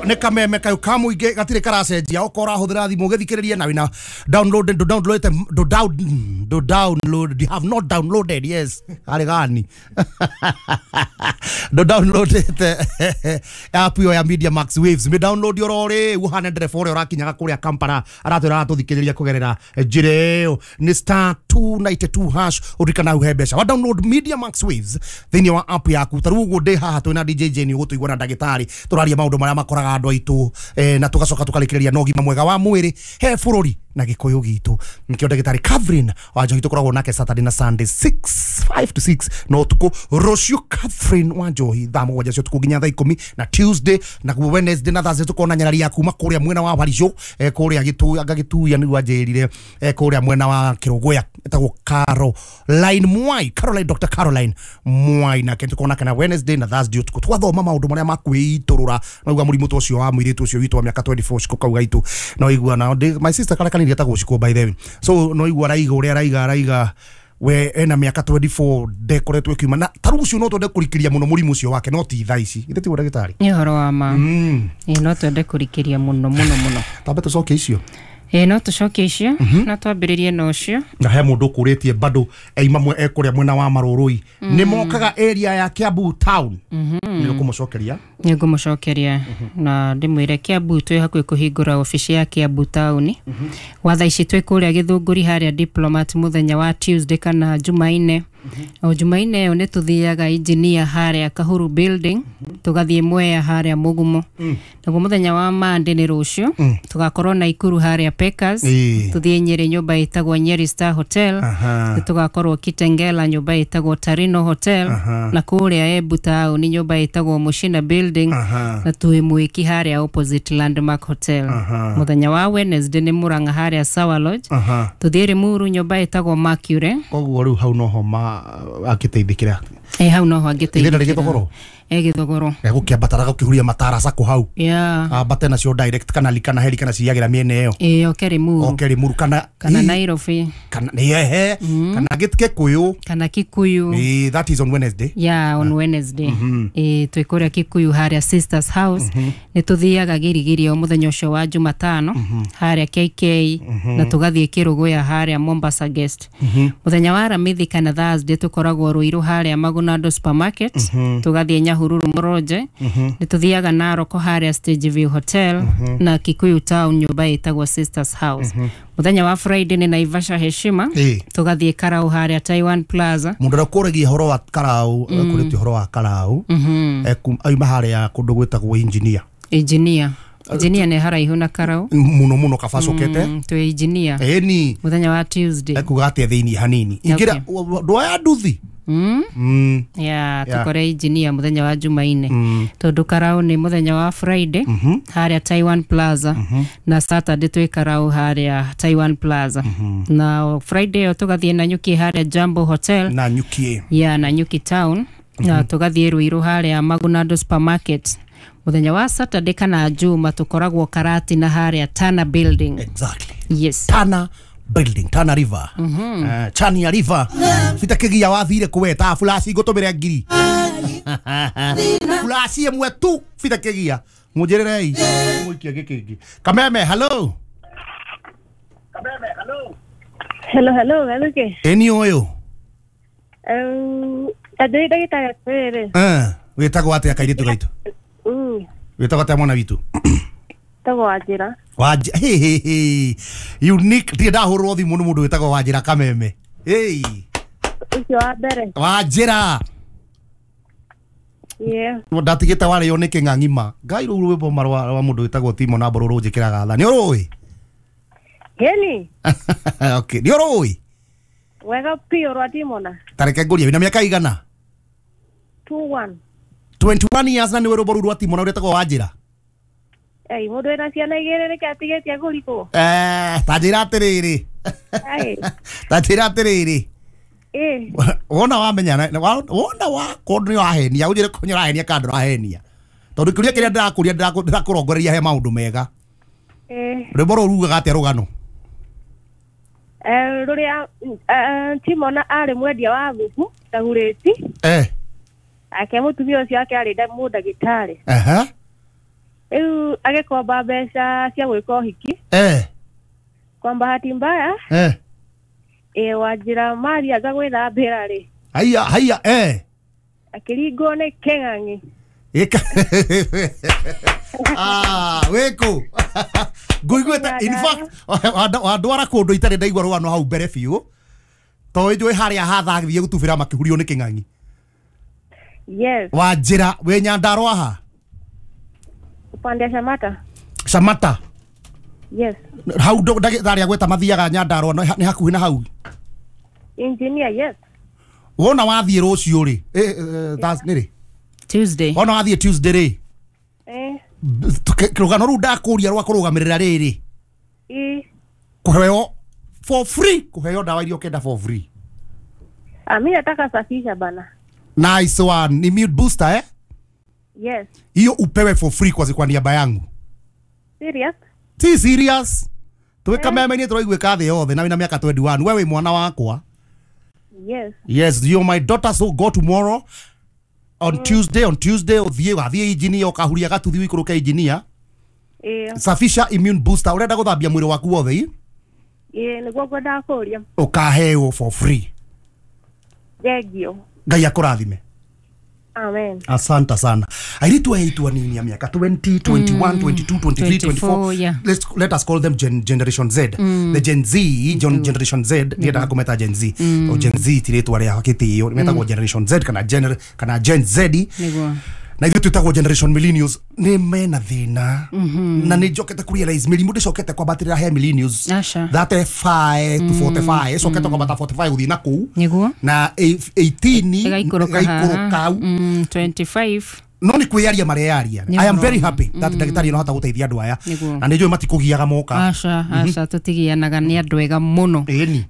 Ĩyo nĩ kameme kayo ka mũingĩ gatirĩ karacenjia okorwo ũrahũthĩra thimũ ũgĩthikĩrĩria na wĩna download ndũ download ndũ down ndũ download you have not downloaded yes arĩ gani ndũ downloadete app ĩyo ya Media Max Waves mĩ download oro rĩu ũhane ndereba ũrĩa ũrakinyaga kũrĩa Kampala aratwĩra aratũthikĩrĩria kũgerera njĩra ĩyo nĩ star 292 hash ũririkana hau he mbeca wa download Media Max Waves thĩinĩ wa app yaku ta rĩu ũguo ndĩ haha twĩna DJ Jane ũgũtũigua na ndagĩtarĩ tũraria maũndũ marĩa makoraga andũ aitũ na tũgacoka tũkarĩkĩrĩria na ũgima mwega wa mwĩrĩ he bũrũri na gĩkũyũ gitũ nĩkĩo ndagĩtarĩ Catherine Wanjohi tũkoragwo nake Saturday na Sunday 6 5 to 6 na ũtukũ rũciũ Catherine Wanjohi thaa mũgwanja cia ũtukũ nginya thaa ikũmi na Tuesday na guo Wednesday na Thursday tũkona nyarari ya kuma kũrĩa mwena wa Barisho kũrĩa anga Gĩtuya nĩguo anjĩrire kũrĩa mwena wa Kĩrũgũya ĩtagwo Caroline Mwai Caroline Dr. Caroline Mwai nake tũkona kana Wednesday na Thursday ũtukũ twathoma maũndũ marĩa makwĩitũrũra no igua mũrimũ ta ũcio wa mũirĩtu ũcio witũ wa mĩaka 24 Shiko kau gaitũ no igua na my sister karĩa kanini getagwo Shiko by the way so no igua araiga ũrĩa araiga araiga we ena mĩaka 24 ndekoretwo ĩkiuma na ta rĩu ũcio no twende kũrikĩria mũno mũrimũ ũcio wake no ti thaa ici ithe tiguo ndagĩtarĩ nĩ ũhoro wa ma ĩĩ no twende kũrikĩria mũno mũno mũno tambe tũcoke icio ĩĩ no tũcoke icio na twambĩrĩrie na ũcio na he mũndũ ũkũrĩtie bado eima mwe ekũrĩa mwena wa Marũrũi nĩ mokaga area ya Kiambu town nĩ ũkũmũcokeria nĩ ngũmũcokeria na ndĩmwĩre Kiambu twĩ hakuhĩ kũhingũra obici ya Kiambu taũni wa thaa ici twĩ kũrĩa Gĩthũngũri harĩa Diplomat mũthenya wa Tuesday kana Jumaine o Jumaine ĩyo nĩ tũthiaga engineer harĩa Kahuru building tũgathiĩ Mwea harĩa Mũgumo naguo mũthenya wa Monday nĩ rũciũ tũgakorwo Naikuru harĩa Packers tũthiĩ Nyeri nyũmba ĩtagwo Nyeri Star Hotel nĩ tũgakorwo Kitengela nyũmba ĩtagwo Tarino Hotel na kũrĩa Embu taũni nyũmba ĩtagwo Mushina building na twĩ Mwĩki harĩa opposite Landmark Hotel mũthenya wa Wednesday nĩ Murang'a harĩa Sawa Lodge tũthiĩ Limuru nyũmba ĩtagwo Mercury koguo rĩu hau noho ma akĩteithĩkĩra hau noho angĩteithĩkĩra Gĩthogoro Gĩthogoro gũkĩambatara gũkĩhuria matara cako hau yeah ambate nacio direct kana likana heri kana ciagĩra mĩena ĩyo ĩĩ oke Limuru oke Limuru kana Nairobi kana ehe kana Gĩkũyũ kana Kikuyu that is on Wednesday yeah on Wednesday ĩĩ twĩ kũrĩa Kikuyu harĩa Sisters House nĩ tũthiaga Girigiri o mũthenya ũcio wa Jumatano harĩa KK na tũgathiĩ Kĩrũgũya harĩa Mombasa Guest mũthenya wa Aramithi kana Thursday tũkoragwo Ruiru harĩa Magunado Supermarket tũgathiĩ Nyahururu Mũronje nĩ tũthiaga Narok harĩa Stage View Hotel na Kikuyu Town nyũmba ĩtagwo Sisters House mũthenya wa Friday nĩ Naivasha Heshima tũgathiĩ Karau harĩa Taiwan Plaza mũndũ ũrĩa ũkũragia ũhoro wa Karau ekũrĩtie ũhoro wa Karau auma harĩa kũndũ gwĩtagwo engineer engineer engineer nĩ haraihu na Karau mũno mũno kaba cokete twĩ engineer ĩni mũthenya wa Tuesday ekuga atĩa thĩinĩ hanini ingĩra ndwaya nduthi Yeah, tukore engineer mũthenya wa Jumaine tondũ Karau nĩ mũthenya wa Friday harĩa Taiwan Plaza na Saturday twĩ Karau harĩa Taiwan Plaza na Friday ĩyo tũgathiĩ Nanyuki harĩa Jambo Hotel Nanyuki yeah, Nanyuki Town na tũgathiĩ Ruiru harĩa Magunado Supermarket mũthenya wa Saturday kana Juma tũkoragwo Karatina harĩa Tana Building exactly yes Tana Building Tana River Chania River bita wathire kuweta flash ngũtũmĩre ngiri flash ĩmwe tu bita kĩgia mũnjĩrĩrei mũikie gĩkĩngĩ Kameme hello Kameme hello hello hello Gathũkĩ ĩni ũyũ ndĩ ndagĩtarĩ atĩrĩrĩ wĩtagwo atĩa kairĩtu gaitũ wĩtagwo atĩa mwana witũ Tagwo Wanjĩra Wanjĩra he he he unique ndirĩ ndahũrwo thimũ nĩ mũndũ wĩtagwo Wanjĩra Kameme hey ũcio wa mbere Wanjĩra yeah ndatigĩte warĩo nĩ kĩng'ang'ima ngai rũu rwĩmbo marwa rwa mũndũ wĩtagwo Timo na Mbũrũ rũnjĩkĩraga tha nĩ ũrũĩ Geni okay nĩ ũrũĩ wega piũ rwa Timona ta reke ngũrie wĩna mĩaka igana 21 21 years na nĩ rwĩmbo rũu rwa Timona rwĩtagwo Wanjĩra Ei, mũndũ wĩna ciana igĩrĩ nĩkĩ atigĩtie kũrikwo ta njĩra atĩrĩrĩ ta njĩra atĩrĩrĩ wona wamenya wona wakorwo nĩ wahenia ũnjĩre ko nĩ ũrahenia kana ndũrahenia tondũ kĩũria kĩrĩa ndĩrakũria ndĩrakũrongoreria he maũndũ mega rwĩmbo rũu rugaga atĩa rũgano rũrĩa Timona arĩ mwendia wa thubu ndagurĩti ake mũtumia ũcio wake arĩ mũndagĩtarĩ Rĩu agĩkomba mbeca cia gwĩka ũhiki. Kwa bahati mbaya, Wanjĩra mathianga gwĩthambĩra rĩ, Haiya haiya akĩringwo nĩ kĩng'ang'i. Ika. Ah, wĩkũ nguiguĩte in fact wandwara kũndũ itarĩ ndaigua rũgano hau mbere biũ to njũĩ harĩa hathathiĩ gũtubĩra makĩhurio nĩ kĩng'ang'i. Yes. Wanjĩra wĩ Nyandarũa ha? Upande ya Shamata. Shamata. Yes. Hau ndagĩtarĩ agweta mathiaga Nyandarũa nĩ hakuhĩ na hau. Engineer, yes. Wona wathiĩ rũciũ rĩ, nĩ rĩ? Tuesday. Wona wathiĩ Tuesday rĩ, rũgano rũu ndakũria rwa kũrũgamĩrĩra rĩrĩ, kũheo for free, kũheo ndawa iria ũkenda for free. Mi nataka safisha bana. Nice one. Immune booster, eh? Yes. Hiyo upewe for free kwa niaba yangu. Serious? Si serious. Twika meme-inĩ tũraiguĩka thĩ yothe na wĩna mĩaka 21. We wĩ mwana wakwa. Yes. Yes, you're my daughter, so go tomorrow. On Tuesday, ũthiĩ wathiĩ engineer ũkahuria gatuthi ũikũrũke engineer. Safisha immune booster. Ũrenda gũthambia mwĩrĩ waku wothe? Nĩguo ngwendaga kũũria. Ũkaheo for free. Thank you. Ngai akũrathime. Amen. Asante sana. Airitu aitu anini ya miaka 20, 21, 22, 23, 24. Yeah. Let us call them Generation Z. The Gen Z, Generation Z, ndiendaga kũmeta Gen Z. O Gen Z ti rĩtwa rĩa gĩtĩo, metagwo Generation Z kana Gen Z. Nĩguo. Na ithuĩ twĩtagwo Generation Millennials nĩ mena thĩna. Na nĩ njokete kũ realize mĩrimũ ndĩcokete kwambatĩrĩra he millennials. 35 to 45, ĩcokete kwambata 45 gũthiĩ na kũu. Nĩguo. Na 18 ĩgaikũrũka hau. 25. No nĩ kwĩyaria mareyaria. I am very happy that ndagĩtarĩ no hota gũteithia andũ aya. Na nĩ njũĩ matikũgiaga moka. Aca, aca, tũtigianaga, nĩ andũ ega mũno.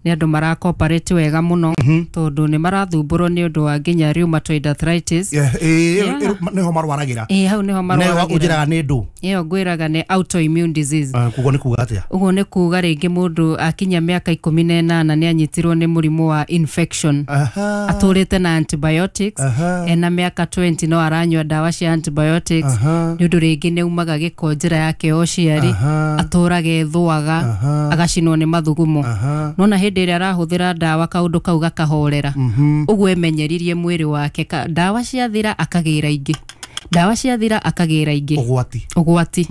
Nĩ andũ marakoparate wega mũno tondũ nĩ marathumbũrwo nĩ ũndũ wa nginya rheumatoid arthritis. Nĩho marwaragĩra. Hau nĩho marwaragĩra. Ũnjĩraga nĩ ndũ? Ĩyo ngwĩraga nĩ autoimmune disease. Kuguo nĩ kuga atĩa? Ũguo nĩ kuga rĩngĩ mũndũ akinya mĩaka 18 nĩ anyitirwo nĩ mũrimũ wa infection. Atũrĩte na antibiotics. Ena mĩaka 20 no aranyua ndawa cia antibiotics. Nĩ ũndũ rĩngĩ nĩ umaga gĩko njĩra yake ya ũciari, atũraga ethũaga, agacinwo nĩ mathugumo. Nona hĩndĩ ĩrĩa arahũthĩra ndawa kaũndũ kau gakahorera. Ũguo emenyeririe mwĩrĩ wake, ndawa ciathira akagĩra ingĩ. Ndawa ciathira akagĩra ingĩ. Ũgwati.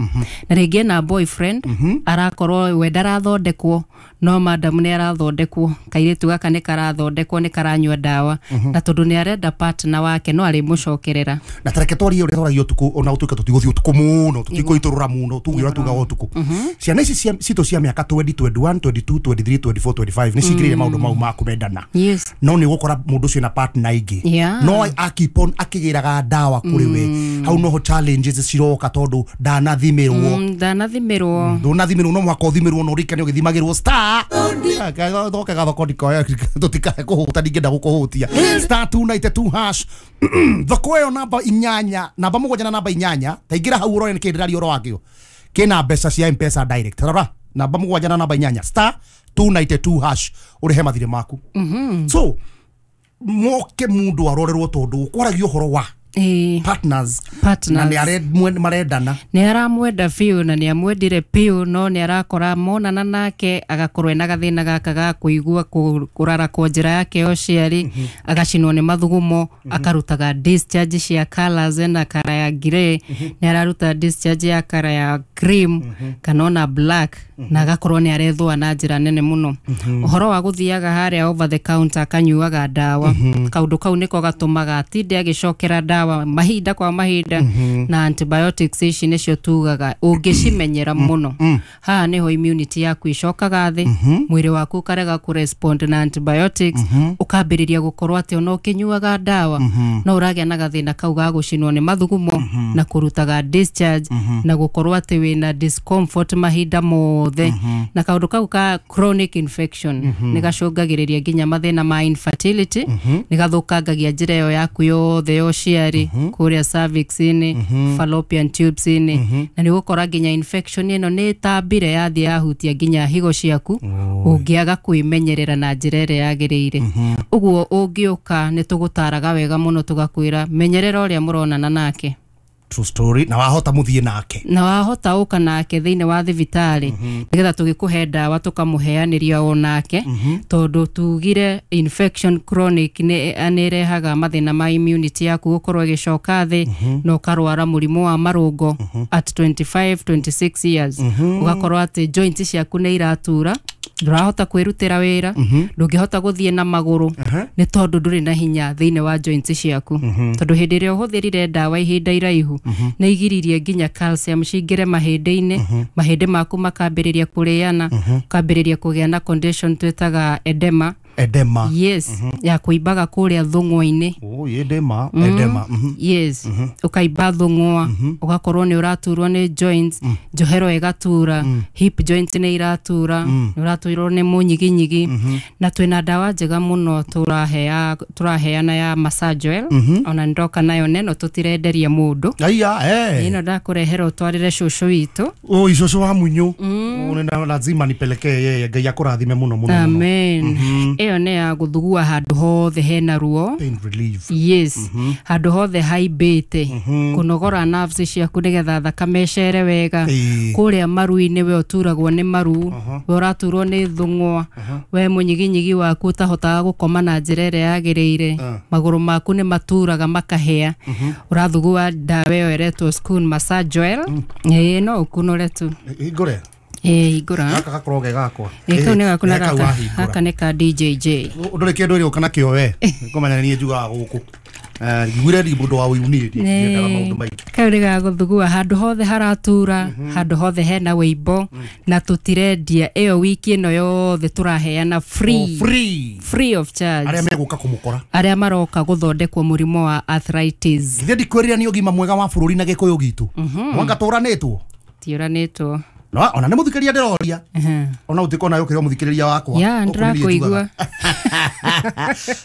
Na rĩngĩ ena boyfriend, arakorwo we ndarathondekwo, no madam nĩ arathondekwo, kairĩtu gaka nĩ karathondekwo, nĩ karanyua ndawa. Na tondũ nĩ arenda partner wake no arĩmũcokerera. Na tareke twarie ũrĩa twaragia ũtukũ, ona ũtuĩke tũtigũthiĩ ũtukũ mũno, tũtikũitũrũra mũno, tuge ũrĩa tugaga ũtukũ. Ciana ici citũ cia mĩaka 20, 21, 22, 23, 24, 25 nĩ cingĩrĩire maũndũ mau ma kũmendana. No nĩ ũgũkora mũndũ ũcio na partner ingĩ. No a keep on akĩgĩraga ndawa kũrĩ we. Hau noho challenges ciroka tondũ ndanathimĩrwo. Ndũnathimĩrwo, no mũhaka ũthimĩrwo na ũrikane ũgĩthimagĩrwo star. Thoke gathoko ndikoya tũtikae kũhũta, ndingĩenda gũkũhũtia. Star 292 hash. Thoko ĩyo namba inyanya, namba mũgwanja na namba inyanya, taingĩra hau ũrore nĩkĩ ndĩraria ũhoro wakĩo. Kĩna mbeca cia M-Pesa direct. Rora, namba mũgwanja na namba inyanya, star 292 hash, ũrĩhe mathirĩ maku. So, moke mũndũ arorerwo tondũ kwaragia ũhoro wa partners. Na nĩ marendana. Nĩ aramwenda biũ na nĩ amwendire biũ, no nĩ arakora monana nake agakorwo ena gathĩna gaka ga kũigua kũrarakwo njĩra yake ya ũciari, agacinwo nĩ mathugumo, akarutaga discharge cia colours na kara ya grey, nĩ araruta discharge ya kara ya cream kana ona black, na agakorwo nĩ arethũa na njĩra nene mũno. Ũhoro wa gũthiaga harĩa over the counter akanyuaga ndawa, kaũndũ kau nĩko gatũmaga atinde agĩcokera ndawa mahinda kwa mahinda. Na antibiotics ici nĩcio tugaga ũngĩcimenyera mũno, haha nĩho immunity yaku icokaga thĩ, mwĩrĩ waku ũkarega kũrespond na antibiotics, ũkambĩrĩria gũkorwo atĩ ona ũkĩnyuaga ndawa no ũragĩa na gathĩna kau ga gũcinwo nĩ mathugumo na kũrutaga discharge na gũkorwo atĩ wĩna discomfort mahinda mothe. Na kaũndũ kau ka chronic infection nĩ gacũngagĩrĩria nginya mathĩna ma infertility, nĩ gathũkangagia njĩra ĩyo yaku yothe ya ũciari kũrĩa cervix-inĩ, fallopian tubes-inĩ, na nĩ ũgũkora nginya infection ĩno nĩ ĩtambire yathiĩ yahutia nginya higo ciaku ũngĩaga kwĩmenyerera na njĩra ĩrĩa yagĩrĩire. Ũguo ũngĩũka nĩ tũgũtaraga wega mũno tũgakwĩra menyerera ũrĩa mũronana nake. True story. Na wahota muthie nake. Na wahota uka nake thiini wa thibitari nigetha tugikuhe ndawa tukamuheaniria o nake tondu tugire infection chronic ni anirehaga mathina ma immunity yaku gukorwo igicoka thi na ukarwara murimu wa marungo at 25 26 years ugakorwo ati joints ciaku ni iratura ndurahota kwirutira wira ndungihota guthie na maguru ni tondu nduri na hinya thiini wa joints ciaku tondu hindi ria uhuthirire ndawa ihinda iraihu ni igiririe nginya calcium cingire mahindi-ini mahindi maku makambiriria kuriana ukambiriria kugia na condition twitaga edema. Edema. Yes. Ya kuibaga kuria thung'wa-inĩ. Oh, edema, edema. Yes. Ukaimba thung'wa, ugakorwo ni uraturwo ni joints, njohero igatura, hip joint ni iratura, ni uraturwo ni munyiginyigi. Na twina ndawa njega muno turaheana ya massage oil, ona ndoka nayo neno tutirenderia mundu. Aya, eh. Ino ndakurehera utwarire cucu witu. Oh, cucu wa munyu. Oh, lazima nipelekee yeye, Ngai akurathime muno muno. Amen. Iyo nĩ ya gũthugua handũ hothe hena ruo. Pain relief. Yes. Handũ hothe haimbĩte. Kũnogora nerves ciaku nĩgetha thakame ĩcere wega. Kũrĩa maru-inĩ we ũturagwo nĩ maru, we ũraturwo nĩ thũng'wa, we mũnyiginyigi waku ũtahotaga gũkoma na njĩra ĩrĩa yagĩrĩire, magũrũ maku nĩ maturaga makahĩa. Ũrathugua ndawa ĩyo ĩretwo Schoon Massage Oil. Ĩĩ no ũkunũre tu. Hingũre. Hingũra. Gaka gakorwo ge gakwa. Kau nĩ gaku na gaka nĩ ka DJJ. Ndũrĩ kĩndũ ĩrĩ ũka nakĩo we. Ngũmenya nĩ njugaga gũkũ. Ngwire ndi mũndũ wa ũyuni ndiendaga maũndũ maingĩ. Kau nĩ gagũthugua handũ hothe haratura, handũ hothe hena wĩimbo na tũtirendia ĩyo wiki ĩno yothe tũraheana free. Free. Free of charge. Arĩa megũka kũmũkora. Arĩa maroka gũthondekwo mũrimũ wa arthritis. Githĩ ndikwĩrire nĩ ũgima mwega wa bũrũri na Gĩkũyũ gitũ. Mwanga tũranĩtwo. Tiũranĩtwo. No, ona nĩ mũthikĩrĩria ndĩroria. Ona ũtikona yũkĩra mũthikĩrĩria wakwa. Ya, ndĩrakũigua.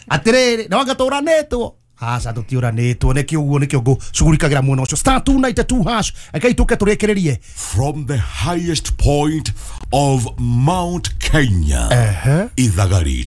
Atĩrĩrĩ, no anga tũranĩtwo. Aca tũtiũranĩtwo nĩkĩo ũguo nĩkĩo ngũcugurikagĩra mwena ũcio. Star 292 hash. Rekei tũke tũrĩkĩrĩrie. From the highest point of Mount Kenya. Ithagari.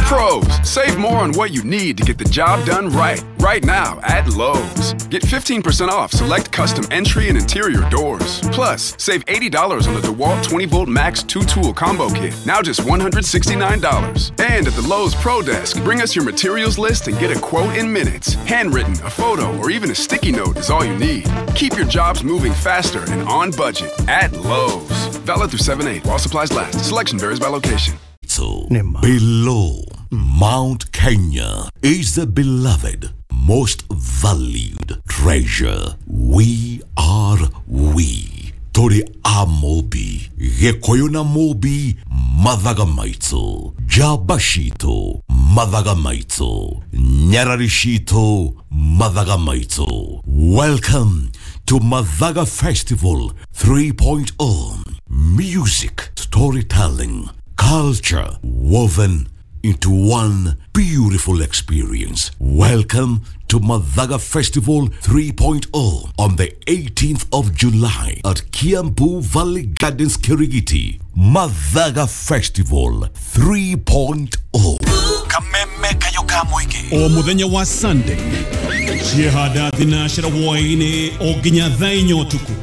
Pros, save more on what you need to get the job done right. Right now at Lowe's. Get 15% off select custom entry and interior doors. Plus, save $80 on the DeWalt 20-volt Max 2-tool combo kit. Now just $169. And at the Lowe's Pro Desk, bring us your materials list and get a quote in minutes. Handwritten, a photo, or even a sticky note is all you need. Keep your jobs moving faster and on budget at Lowe's. Valid through 7/8 while supplies last. Selection varies by location. So, below Mount Kenya is the beloved, most valued treasure. We are we. Tori amobi, Gĩkũyũ na Mũmbi, mathaga maitũ, njamba citũ, mathaga maitũ, nyarari citũ, mathaga maitũ. Welcome to Mathaga Festival 3.0. Music, storytelling, culture woven into one beautiful experience. Welcome to Mathaga Festival 3.0 on the 18th of July at Kiambu Valley Gardens, Kirigiti. Mathaga Festival 3.0. Kameme kayoka mwingi. O muthenya wa Sunday. Ciehanda thinacera hwaini o nginya thaa inya ũtukũ.